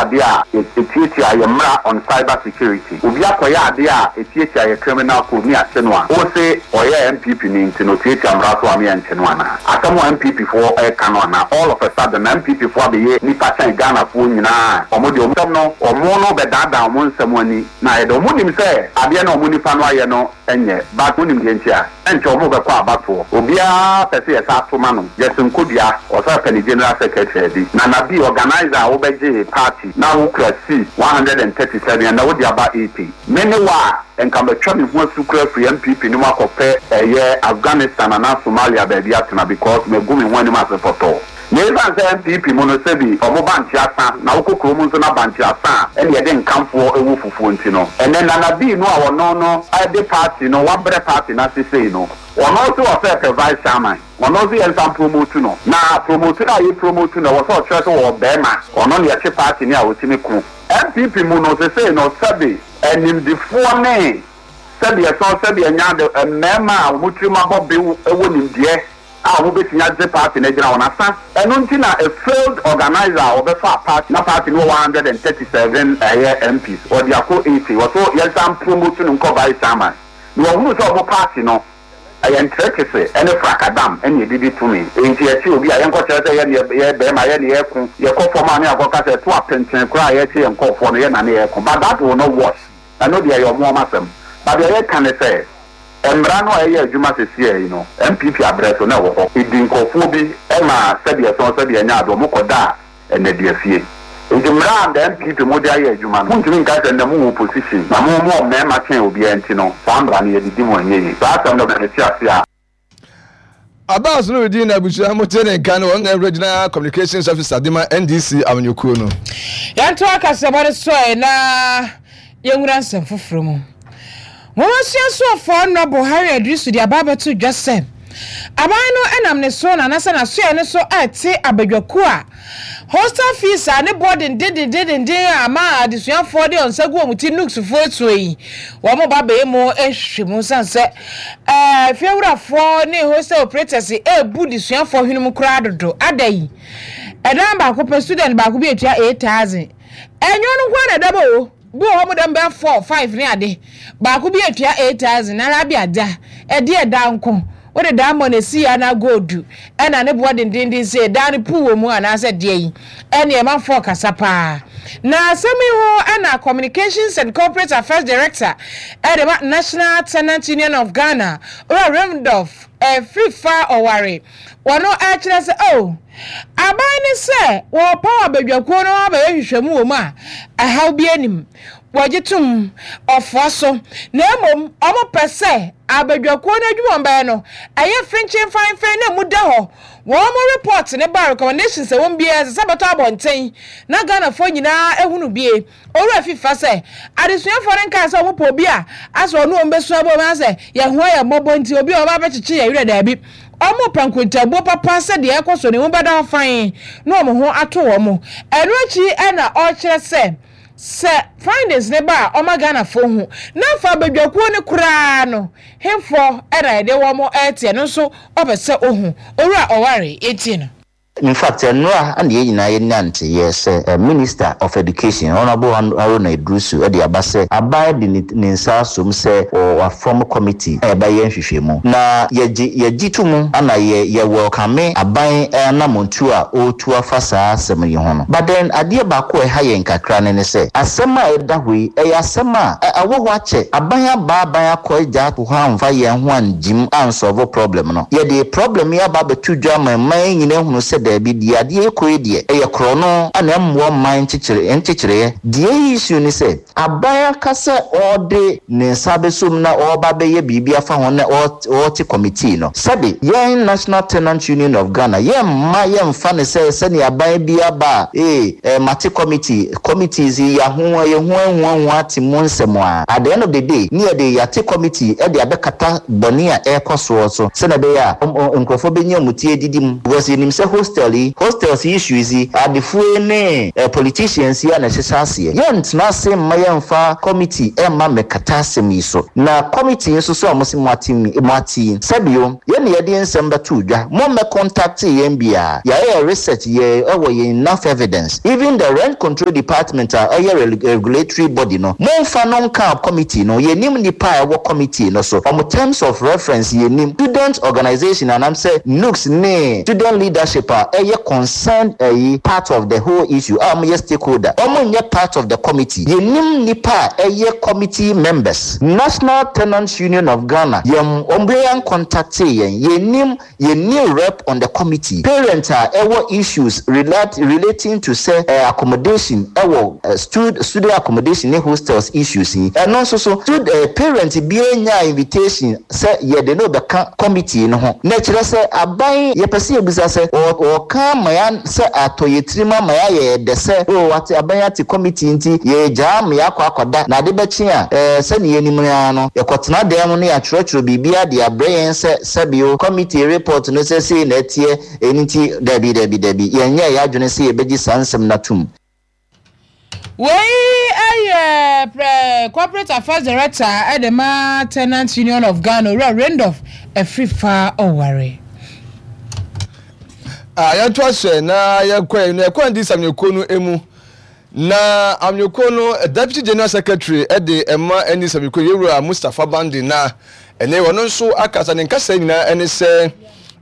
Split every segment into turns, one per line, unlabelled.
adeɛ a ɛtiatia yɛ mmara on cyber security, obi akɔyɛ adeɛ a ɛtiatia yɛ criminal code ne yɛakye no a, wo se ɔyɛ NPP ni nti no ɔtiatia mmara so a ne yɛnkye no anaa? Asɛm a NPP foɔ ɛreka no anaa? All of a sudden na NPP foɔ abɛyɛ nipa kyɛn Ghana foɔ nyinaa a, wɔn deɛ wɔn nsɛm no wɔn no bɛdaadaa wɔn nsɛm ani na ayɛ dɛ. Wɔn nim sɛ adeɛ no a wɔn nipa no ayɛ no nyɛ but wonim deɛ nti a? Ɛnkyɛ wɔn bɛkɔ abatoɔ. Obiara pɛ sɛ yɛsan to ma no. Jackson Kodua, ɔsan pɛ ne General Secretary adi. Nana B, organiser a wobɛgyee party na wokura seat 137 ɛnnɛ wode aba 80. Me ne wo a, nka matwa me ho asu koraa afiri NPP no mu akɔpɛ ɛyɛ Afghanistan anaa Somalia baabi atena because magu me ho anim ase pɔtɔɔ. Na esiane sɛ NPP mu no sɛbi ɔmo bankye asa na wokɔ kurom nso na bankye asa a ɛne yɛde nkamfoɔ wɔ fufuo nti no, ɛnɛ Nana Bii no a ɔno no de party no wabrɛ party no ase sei no, ɔno nso ɔsɛ pɛ vice chairman, ɔno nso yɛnsan promote no. Na promote no a yɛ promote no ɛwɔ sɛ ɔkyerɛ sɛ ɔwɔ bɛɛma, ɔno na yɛtwe party no a ɔtumi ko. NPP mu no sesei no sɛbi animdifoɔ ne sɛbi ɛsɔn sɛbi ɛnya ade mmarima a wɔn tirim abɔ bew wɔ nimdeɛ a wɔbɛtumi agye party no agyina wɔn asa. Ɛno nti na a failed organiser a ɔbɛfaa party na party no wɔ 137 ɛyɛ MPs ɔde akɔ 80 wɔso yɛnsan promote no nkɔ vice chairman na wahunu sɛ wɔn party no ɛyɛ ntrɛkese ɛne frakadam ɛne ɛdidi tumi enti yɛkye obi a yɛnkɔkyerɛ sɛ yɛne yɛ bɛrima yɛne yɛko yɛkɔ fam a ne yɛakɔka sɛ ɛto apenten koraa a yɛkye yɛn nkɔɔfoɔ no yɛ na ne yɛko but that will not wash. Ɛno deɛ ɛyɛ ɔmo ɔmo asɛm. But deɛ yɛka ne sɛ, mmara no a ɛyɛ adwuma sesiɛ yi no, NPP abrɛ so na ɛwɔ hɔ. Edi nkorɔfoɔ bi ma sɛdeɛ ɛsɔn sɛdeɛ ɛnyɛ ade, ɔmo kɔ da nnaduafie. Nti mmara a the NPP mo de ayɛ adwuma no, montumi nka sɛ nnɛ mo wɔ opposition na mo mo wɔ mmarima kyɛn obiara nti no, saa mmara no yɛde di mo ɛnyɛ yie. Saa asɛm no mete aseɛ a.
Abbas Nurudeen na abusua mo te ne nka no, ɔno na Regional Communications Officer de ma NDC amanyɔkuo no.
Yɛnto akasɛbɔ no so ɛ na yɛnwura nsɛm foforɔ mu. Nwomasua soafoɔ Honourable Harry Adrisu de aba abɛto dwa sɛ aban no nam ne so na anaasɛ n'asoɛeɛ no so rete abadwakuo a Hostel fees a ne boɔ dendendendenden a ama adesuafoɔ de wɔn nsa gu wɔn ti Nooksfoɔ asuo yi, wɔn ba bɛyɛ mu nhwehwɛmu sane sɛ ɛɛ fiewurafoɔ ne hostel operators ɛrebu desuafoɔ hwene mu koraa dodo. Ada yi, ɛdan baako pɛ student baako bi atua 8000. Ɛnyɛ ɔno nko ara na ɛda bɔ o. Bi wɔ hɔ mo dɛm bɛyɛ four, five ne ade. Baako bi etua 8,000 na Rabia da. Ɛdeɛ daa nko. Wode diamond esi anaa gold ɛna ne boɔ dendenden sei daa no puu wɔ mu anaasɛ deɛ yi. Ɛneɛ manfoɔ kasa paa. Na asɛm yi ho ɛna Communications and Corporate Affairs Director ɛde ma National Tenant Union of Ghana, Owura Randolph Afrifa Ɔware, wɔno ɛkyerɛ sɛ oh, aban ne sɛ wɔrepaw abadwakuo no abɛyɛ nhwehwɛmu wɔ mu a ɛhaw biara nnim, wɔgye tom, ɔfoa so, na mmom wɔpɛ sɛ abadwakuo no adwuma a wɔbɛyɛ no ɛyɛ frenkyen fanfɛn na emu da hɔ. Wɔn report no ba a recommendations a ɛwɔ mu biara ɛsɛ sɛ ɛbɛtɔ abɔnten na Ghanafoɔ nyinaa ahunu bie. Owura Fifa sɛ, adesuafoɔ no nkaa sɛ wɔpɛ obi a asɛ ɔne wɔn bɛsua abom asɛ yɛn ho ayɛ mmɔbɔ nti obi a ɔba abɛkyekye yɛn werɛ daabi. Wɔpɛ nkontabuo papa sɛ deɛ ɛrekɔ so no emu bɛda hɔ fann na wɔn ho ato wɔn. Ɛno akyi na ɔrekyerɛ sɛ, sɛ findings no ba a ɔma Ghanafoɔ hu. Na afa abadwakuo no koraa no, hefoɔ na yɛde wɔn rete ɛno nso ɔpɛ sɛ ɔhu. Owura Ɔware, yɛntie no.
In fact, nnora na yɛn nyinaa yɛnya nteyɛ sɛ Minister of Education, Honourable Haruna Iddrisu de aba sɛ aban de ne nsa asom sɛ wɔafɔm committee a yɛbɛyɛ nhwehwɛmu. Na yɛgye yɛgye to mu na yɛ yɛ welcome aban anamontuo a ɔretu afa saa asɛm yi ho no. But then adeɛ baako a ɛha yɛn kakra no ne sɛ asɛm a ɛda hɔ yi ɛyɛ asɛm a ɛwɔ hɔ akyɛ. Aban aba aban akɔ agya ato hɔ amfa yɛn ho angyim ansɔlvo problem no. Yɛde problem yi aba abɛto dwa ama mman yi nyinaa ahunu sɛ daabi, deɛ adeɛ yi kɔ yi deɛ, ɛyɛ korɔno na ɛmmoa mman nkyekyere nkyekyereɛ. Deɛ ɛyɛ issue ne sɛ, aban aka sɛ ɔde ne nsa abɛsɔ mu na ɔreba abɛyɛ biribi afa ho na ɔrete committee no. Sɛbe, yɛn National Tenant Union of Ghana, yɛmma yɛmfa no sɛ sɛdeɛ aban bi aba a, ee, eh, mate committee, committees yi yɛaho, yɛhuahuahua ate mu nsɛm a, at the end of the day, ne yɛde yɛate committee de abɛkata bɔne a ɛrekɔ soɔ so sɛdeɛ ɛbɛyɛ a nkurɔfoɔ bɛnya wɔn ti adidi mu because yɛnim sɛ hostel. hostel yi, hostels issues yi, adefoɔ yi ne politicians yi a na ɛhyehyɛ aseɛ. Yɛntena ase mma yɛmfa committee mma mmɛkata asɛm yi so. Na committee nso so a mose moate moate yi, sɛbio yɛn na yɛde nsɛm bɛtoo dwa, mommɛ contactee yɛn biara. Yɛayɛ yɛn research, yɛ wɔ yɛn enough evidence. Even the rent control department a ɛyɛ regulatory body no, momfa no nka committee no, yɛnnim nnipa a ɛwɔ committee no so, wɔn terms of reference yɛnnim. Student organisation anaasɛ NUGS ne student leadership a ɛyɛ concerned ɛyi part of the whole issue a wɔyɛ stakeholder, wɔn nyɛ part of the committee. Yɛnnim nnipa a ɛyɛ committee members. National Tenants Union of Ghana, yɛn wɔn biara ncontactee yɛn, yɛnnim Yɛnni rep on the committee. Parent a ɛwɔ issues relate relating to sɛ accommodation ɛwɔ stud student accommodation ne hostels issues yi, ɛno nso so stud parent biara nyaa invitation sɛ yɛde no rebɛka committee no ho. Na ɛkyerɛ sɛ aban yɛpɛ sɛ yɛbisa sɛ wɔ wɔka ama yɛn sɛ atɔ yɛn tirim ama yɛayɛ yɛ dɛ sɛ oh wate aban ate committee nti yɛregyaa ama yɛakɔ akɔda na ade bɛkye a eh sɛdeɛ yɛnim no ara no yɛkɔtena dan mu na yɛatwerɛtwerɛ biribiara de abrɛ yɛn sɛ Sɛ bio, committee report no sɛ sei na ɛteɛ, ɛno nti dabi, dabi, dabi, yɛnyɛɛ yɛn adwene sɛ yɛbɛgye saa nsɛm no atom.
Wei yɛ prɛ Corporate Affairs Director de ma Tenants Union of Ghana, Owura Randolph Afrifa Oware.
Ah, yɛnto ahyɛ na yɛnkɔ yɛn yɛkɔ ndi samnyɛkuo no mu. Na amanyɔkuo no Deputy General Secretary de ma ɛne Samikuo Yɛwura Mustapha Bande na ɛnɛ ɔno nso akasa. Ne nkasa nyinaa ɛne sɛ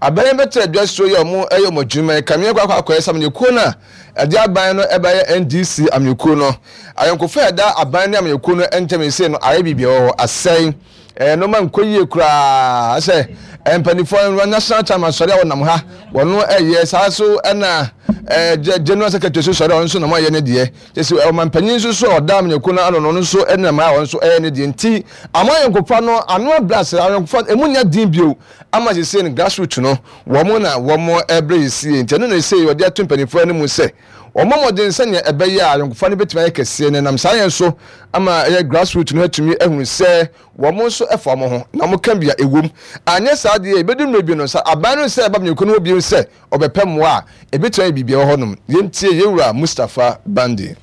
aban yi bɛtɛ adwa suo yi a wɔn ɛyɛ wɔn adwuma yi kame akɔ akɔ akɔyɛ sɛ amanyɔkuo no a ɛde aban no ɛbɛyɛ NDC amanyɔkuo no ayɔnkofa a ɛda aban ne amanyɔkuo no ntam yi sei no ayɛ biribi wɔ hɔ asɛe ɛɛ nneɛma nkɔ yie koraa sɛ mpanimfoɔ no national chairman sɔre a wɔnam ha wɔn ɛyɛ saa so ɛna ɛɛ general secretary so sɔre a wɔn nso nam ayɛ ne deɛ kyɛ sɛ ɔmanpanyin nso so a ɔda amanyɔkuo no ano no ɔno nso ɛnam a wɔn nso ɛyɛ ne deɛ nti ama ayɔnkofa no ano abrɛ ase ayɔnkofa emu nya din bio ama sese no grassroots no wɔn na wɔn ɛbrɛ yɛsie nti ɛno na ɛsɛ wɔde ato mpanimfoɔ anim sɛ Wɔmmɔ mmɔden sɛnea ɛbɛyɛ a ayɔnkofa no betumi ayɛ kɛseɛ, na ɛnam saa yɛn so ama ɛyɛ grassroots no atumi ahunu sɛ wɔn nso fa wɔn ho, na wɔka bi a ɛwom. Anyɛ saa deɛ a, ɛbɛdu mmerɛ bi no, sɛ aban no nsɛ ɛba amanyɔkuo no hɔ bio sɛ ɔbɛpɛ mmoa a, ɛbɛtumi ayɛ biribi wɔ hɔnom. Yɛntie yɛn wura Mustapha Bande.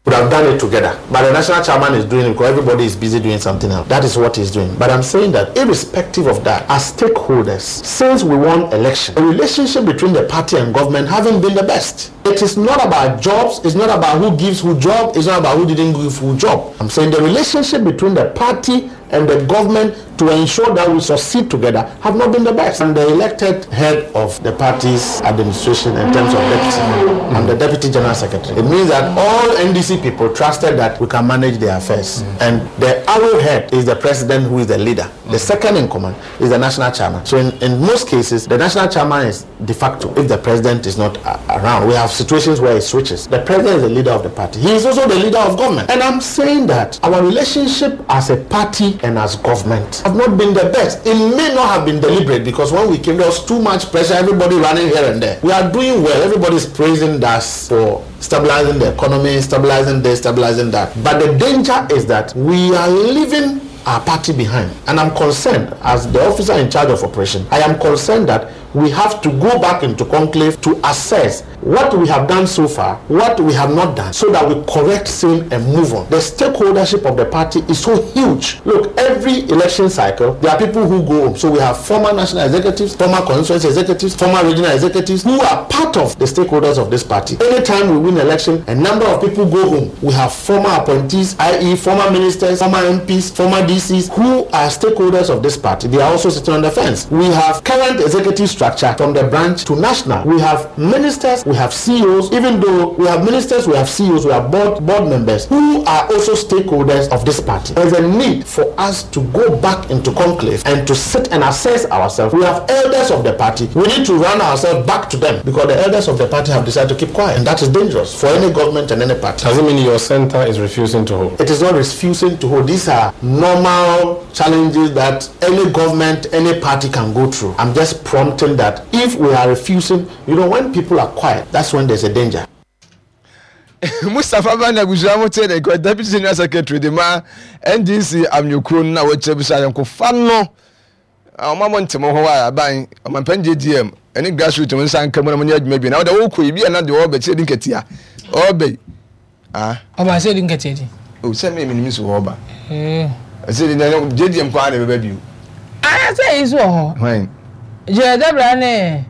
Would have done it together but the national chairman is doing it because everybody is busy doing something else that is what he's doing but I'm saying that irrespective of that as stakeholders since we won election the relationship between the party and government haven't been the best it is not about jobs it's not about who gives who job it's not about who didn't give who job I'm saying the relationship between the party and the government to ensure that we succeed together have not been the best. I'm the elected head of the party's administration in terms of deputy. I'm the deputy general secretary. It means that all NDC people trusted that we can manage their affairs. And the arrowhead is the president who is the leader. The second in command is the national chairman. So in, in most cases, the national chairman is de facto if the president is not around. We have situations where it switches. The president is the leader of the party. He is also the leader of government. And I'm saying that our relationship as a party and as government have not been the best. It may not have been deliberate because when we came, there was too much pressure, everybody running here and there. We are doing well. Everybody's praising us for stabilizing the economy, stabilizing this, stabilizing that. But the danger is that we are leaving our party behind. And I'm concerned, as the officer in charge of operation, I am concerned that we have to go back into conclave to assess what we have done so far, what we have not done, so that we correct same and move on. The stakeholdership of the party is so huge. Look, every election cycle, there are people who go home. So we have former national executives, former constituency executives, former regional executives who are part of the stakeholders of this party. Anytime we win election, a number of people go home. We have former appointees, i.e. former ministers, former MPs, former DCs, who are stakeholders of this party. They are also sitting on the fence. We have current executive structure from the branch to national. We have ministers, we have CEOs, even though we have ministers, we have CEOs, we have board, board members who are also stakeholders of this party. There's a need for us to go back into conclave and to sit and assess ourselves. We have elders of the party. We need to run ourselves back to them because the elders of the party have decided to keep quiet. And that is dangerous for any government and any party.
Does it mean your center is refusing to hold?
It is not refusing to hold. These are normal challenges that any government, any party can go through. I'm just prompting that if we are refusing, you know, when people are quiet, that's when there's a danger.
Mustapha Bani abusua mo te ne nka Deputy General Secretary de ma NDC amanyɔkuo no na wɔkyerɛ bi sɛ ayɔnkofa no ɔma mo nte mo ho a aban ɔmampanin JGM Ɛne grassroots mo nsa nka mu na mo nyɛ adwuma bi na wode wokɔ yi bi a na deɛ ɔbɛ sɛ di nkatia ɔbɛ yi ah.
Ɔba sɛ di nkatia di.
O sɛ mi mi nim so ɔba. Ɛsɛ di na JDM kwan na ɛbɛba bio.
Ara sɛ yi so wɔ hɔ.
Hwan.
Gyina Debra ne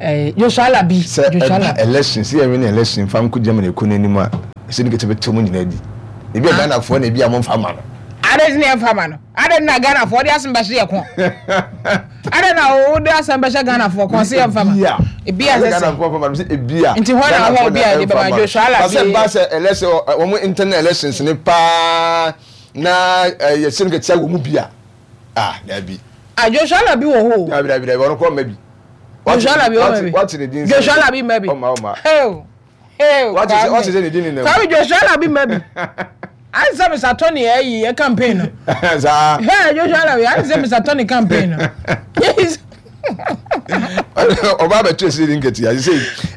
ɛɛ Joshua Alabi.
Sɛ ɛba election sɛ yɛn win election fa nko Germany kɔ n'anim a ɛsɛ di nkatia bɛ tɛ mu nyinaa di. Ebi a Ghanafoɔ na ebi a mo nfa ma no.
Ade ne yɛn fa ma no. Adɛn na Ghanafoɔ de asɛm bɛhyɛ yɛ kɔn? Adɛn na wode asɛm bɛhyɛ Ghanafoɔ kɔn sɛ yɛmfa ma?
Ebia sɛ Ghanafoɔ fa ma no sɛ ebia.
Nti hɔ na hɔ ebia de bɛma Joshua Alabi.
Sɛ ba sɛ election wɔn internal elections ne paa na yɛsɛ no kɛtia wɔ mu bi a ah dabi.
Ah Joshua Alabi wɔ hɔ o.
Dabi dabi dabi ɔno kɔ mma bi.
Joshua Alabi wɔ mma bi.
Wate ne din
sɛ. Joshua Alabi mma bi.
Ɔma ɔma.
Hey,
Wate sɛ wate sɛ ne din nenam.
Kwame Joshua Alabi mma bi. Ayɛ sɛ Mr. Tony ayi ɛ campaign no.
Saa.
Hey, Joshua Alabi, ayɛ sɛ Mr. Tony campaign no. Yes.
Ɔba abɛto ɛsɛ di nketewa sɛ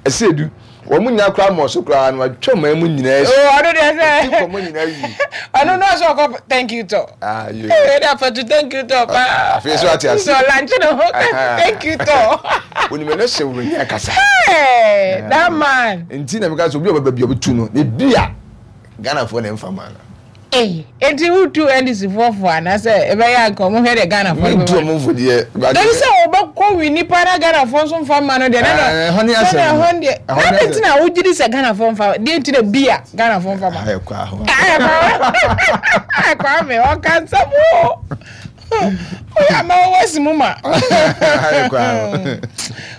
ɛsɛ edu wɔn mu nyinaa koraa mɔ so koraa no atwa ɔman mu nyinaa
si. Oh, ɔno deɛ sɛ.
Ɔti kɔmɔ nyinaa yi.
Ɔno no ɔsɛ ɔkɔ thank you tɔ.
Ah, yo.
Ee, ɛde afɛtu thank you tɔ paa.
Afei so ate ase.
Sɛ ɔlanche ne ho thank you tɔ.
Onim ɛnɛ hyɛ wura ni akasa.
Hey, that man.
Nti na meka sɛ obi a ɔbɛba bi a ɔbɛtu no na ebi a Ghanafoɔ na ɛmfa ma no.
Ei, enti wotu NDC foɔ fo anaasɛ ɛbɛyɛ anka ɔmo hwɛ deɛ Ghanafoɔ no
bɛma. Mentu ɔmo fo deɛ.
Dabi sɛ wɔbɛkɔ wi nipa na Ghanafoɔ nso mfa mma no deɛ na na
ɛhɔ ne asɛm
no ɛhɔ deɛ na de nti na wogye di sɛ Ghanafoɔ mfa deɛ nti na bi a Ghanafoɔ mfa ma.
Ayɛ kɔ aho.
Ayɛ kɔ aho. Kwame ɔka nsɛm o. Oyɛ ama wɔwɔ si mu ma.
Ayɛ kɔ aho.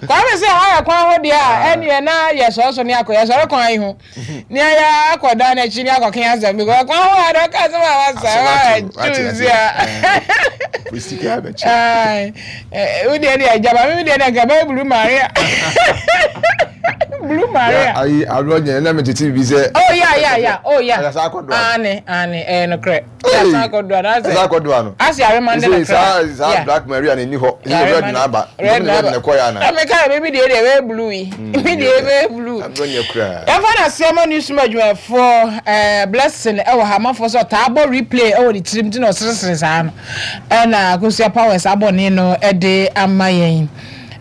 Kwame sɛ ayɛ kwan ho deɛ a ɛneɛ na yɛsɔre so ne akɔ yɛsɔre kwan yi ho. Nea yɛ akɔ dan n'akyi ne akɔke asɛm because kwan ho a dɔka asɛm a wasa wa choose a.
Sika abɛkyɛ.
Wo deɛ deɛ agyaba me deɛ deɛ nka bɛyɛ Blue Maria. Blue Maria.
Ayi aborɔ nyɛ na metete bibi sɛ.
Oh yeah yeah yeah oh yeah.
Ɛyɛ akɔdoa.
Ane ane ɛyɛ nokorɛ. Ɛyɛ akɔdoa na asɛ.
Ɛyɛ akɔdoa no.
Asɛ aremande na kra.
Saa saa Black Maria na ɛni hɔ. Ɛsɛ red na aba.
Red na
aba. Red na ɛkɔ yɛ ana.
Ɛmi ka yɛ mi deɛ deɛ ɛbɛyɛ blue yi. Mi deɛ ɛbɛyɛ blue.
Aborɔ nyɛ koraa.
Yɛmfa no aseɛ ma newsroom adwumayɛfoɔ ɛɛ Blessing ɛwɔ ha amanfoɔ sɛ ɔtaa bɔ replay ɛwɔ ne tirim nti na ɔseresere saa no ɛna Akosua Powers abɔ ne no ɛde ama yɛn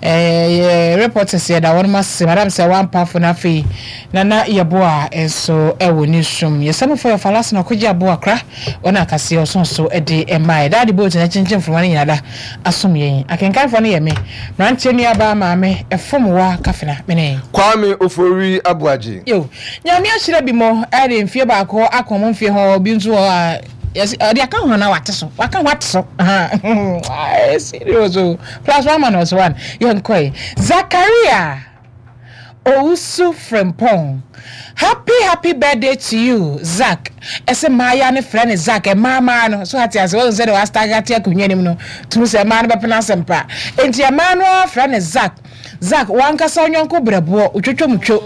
ɛɛ yɛ reporters yɛda wɔn ase Madam sɛ wampafo na afei Nana Yeboah nso ɛwɔ newsroom yɛsɛmfoɔ yɛ Falase na ɔkɔgye aboa kora wɔn akaseɛ ɔso so ɛde ɛma yɛ daade boat na kyenkyen mframa no nyinaa da asom yɛn. Akenkanfoɔ no yɛ me, mmeranteɛ nuabaa maame, ɛfom wa kafena, me ne.
Kwame Ofori Aboagye.
Yo, Nyame ahyira bi mo de mfie baako aka ɔmo mfie ho, bi nso wɔ hɔ a yɛse ɔde aka ho anaa wate so, waka ho ate so, ahaa, ɛyɛ serious o, plus one minus one, yɛnkɔe. Zakaria. Owusu Frimpong Happy happy birthday to you Zack Ɛsɛ mmaayaa no frɛ no Zack mmaa mmaa no so ate ase wahu sɛdeɛ wastagger te akonnwa no mu no tumi sɛ mmaa no bɛpene asɛm pa enti mmaa no ara frɛ no Zack Zack wankasa ɔnyɔnko brɛboɔ otwotwo mu two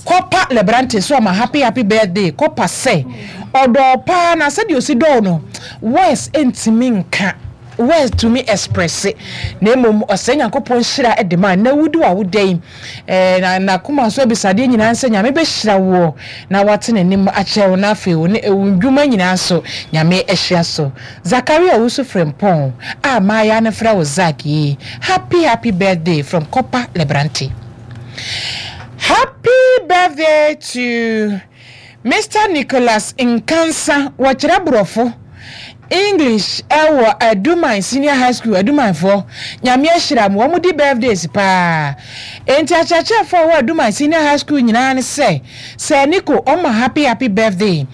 kɔpa Lebrante so ɔma happy happy birthday kɔpa sɛ ɔdɔɔ paa na sɛdeɛ osi dɔɔ no words ntumi nka Woantumi expresse na mmom ɔsrɛ Nyankopɔn nhyira de ma na wodi w'awoda yi eh, na n'akoma so abisadeɛ nyinaa ne sɛ Nyame bɛhyira woɔ na wate n'anim akyerɛ wo na afei wo ne wo ndwuma nyinaa nso Nyame ahyira so. Zakaria Owusu Frimpong a maayaa no frɛ wo Zack yi happy happy birthday from Copper Lebrante. Happy birthday to Mister Nicholas Nkansah, wɔkyerɛ Borɔfo, English, wɔ Aduman Senior High School, Adumanfoɔ, Nyame ahyira mo, wɔn di birthdays paa. Enti akyerɛkyerɛfoɔ a wɔwɔ Aduman Senior High School nyinaa ne sɛ, Sir Nico, ɔma happy happy birthday.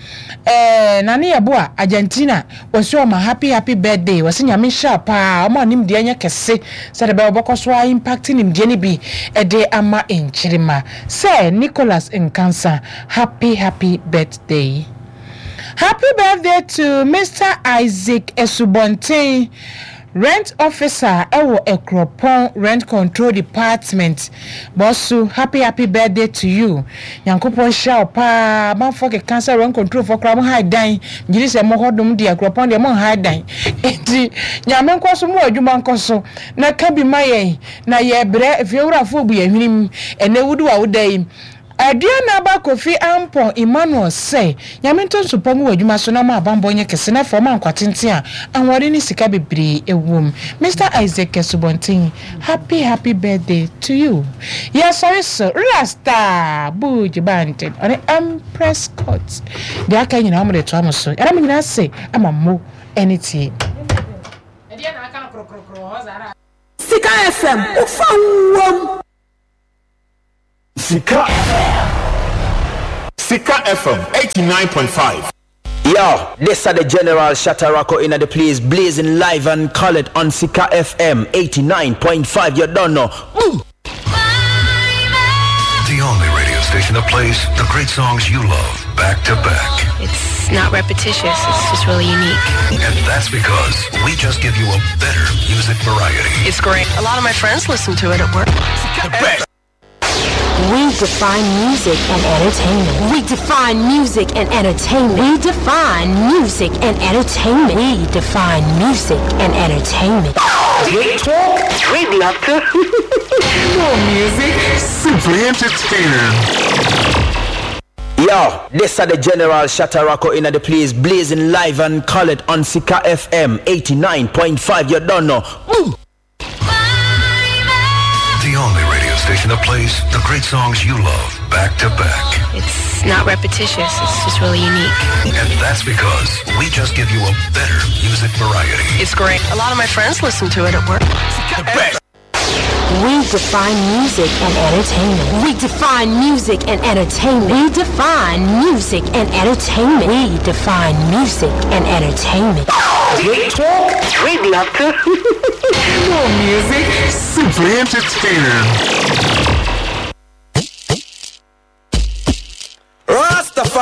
Eh, Nane Yeboah, Argentina, wɔse ɔma happy happy birthday, wɔse Nyame nhyira wo paa, ɔma wo nimdeɛ nyɛ kɛse sɛdeɛ ɛbɛyɛ wobɛkɔ so ara impact nimdeɛ no bi de ama nkyirimma. Sir Nicholas Nkansah, Happy happy birthday. Happy birthday to Mister Isaac Asubɔnten, Rent officer wɔ Akuropɔn Rent Control Department. Bɔso, happy happy birthday to you. Nyankopɔn nhyira wo paa. Amanfoɔ keka sɛ rent control foɔ koraa mo hae dan. Megye di sɛ mo hɔ nom deɛ Akuropɔn deɛ mo nhae dan. Enti Nyame nkɔ so mo adwuma nkɔ so na ka bi ma yɛn na yɛbrɛ efiewurafoɔ bu yɛn hwenem. Ɛnɛ wodi w'awoda yi. Aduanaba Kofi Ampong Emmanuel sɛ, Nyame ntɔ nsu pa ngu w'adwuma so na ɔma abanbɔ nyɛ kɛse na afei ɔma nkwa tenten a ahoɔden ne sika bebree wom. Mister Isaac Asubɔnten, happy happy birthday to you. Yɛsɔre so, Rasta Buju Banton, ɔne Empress Court. Deɛ aka nyinaa wɔde toa mo so. Yɛda mo nyinaa ase ama mo ani tie.
Sika FM, wo fa wom.
Sika Sika FM 89.5.
Yo, this are the General Shatarako in the place, blazing live and colored on Sika FM 89.5. You don't know. Boom!
The only radio station that plays the great songs you love back to back.
It's not repetitious, it's just really unique.
And that's because we just give you a better music variety.
It's great. A lot of my friends listen to it at work.
The best.
We define music and entertainment. We define music and entertainment. We define music and entertainment. We define music and entertainment.
Great talk, great laughter, more music,
simply entertaining.
Yo, this are the General Shatarako in the place, blazing live and colored on Sika FM 89.5. You don't know. Boom!
The only radio station that plays the great songs you love back to back.
It's not repetitious, it's just really unique.
And that's because we just give you a better music variety.
It's great. A lot of my friends listen to it at work.
The best.
We define music and entertainment. We define music and entertainment. We define music and entertainment. We define music and entertainment.
Great talk, great laughter, more music,
simply entertaining.